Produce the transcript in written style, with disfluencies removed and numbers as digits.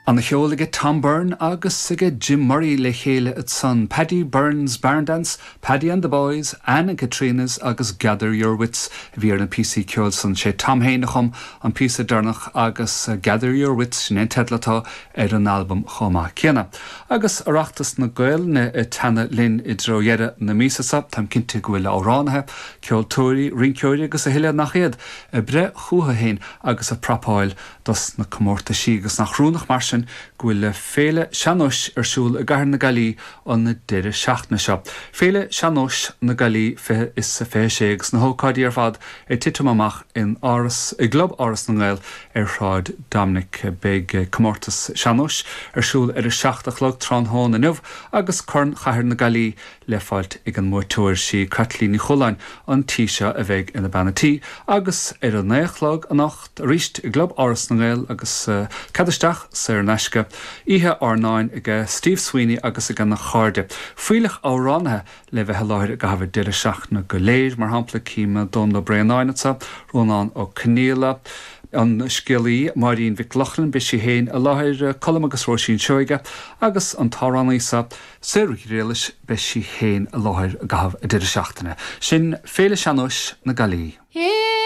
Ana cheol aige Tom Byrne agus aige Jim Murray le chéile ansan, Paddy Byrne's Barn Dance, Paddy and the Boys, Anne and Catriona's agus Gather Your Wits a bhí ar na píosaí ceoil san. Sé Tom féin a chum an píosa deireanach agus Gather Your Wits, sin é an teideal atá ar an albam chomh maith céanna. Agus Oireachtas na Gaelainne ag teannadh linn i dtreo dheireadh na míosa seo, táim cinnte go bhfuil amhránaithe, ceoltóirí, rinceoirí agus a thuilleadh nach iad, ag breith chúthu féin agus ag prapáil dos na comórtaisí agus nach rúnach mar sin go bhfuil Féile Sean-Nóis ar siúl i gCathair na Gaillimhe an deireadh seachtaine seo. Féile Sean-Nóis na Gaillimhe 20 is 26 agus na hócáidí ar fad ag titim amach in Áras, i gClub Áras na nGael ar Shráid Dominic. Beidh comórtas sean-nóis ar siúl ar a 7 a chlog tráthnóna inniu agus Corn Chathair na Gaillimhe le fáilt ag an mbuaiteoir. Sí Caitlín Ní Chualáin an tí seo a bheidh ina bean a' tí agus ar a naoi a chlog anocht arís i gClub Áras na nGael agus cead isteach saor in aisce, oíche airneáin aige Steve Sweeney agus ag a chairde. Fuílleach amhránaithe le bheith i láthair i gcaitheamh an deireadh seachtaine go léir, mar shampla cím Dónal Ó Braonáin anseo, Rónán Ó Conghaile, an scéalaí Máirín Mhic Lochlainn, beidh sí féin i láthair, Colm agus Róisín Seoige agus an t-amhránaí seo, Sarah Ghriallais, beidh sí féin i láthair i gcaitheamh an deireadh seachtaine. Sin Féile Sean-Nóis na Gaillimhe.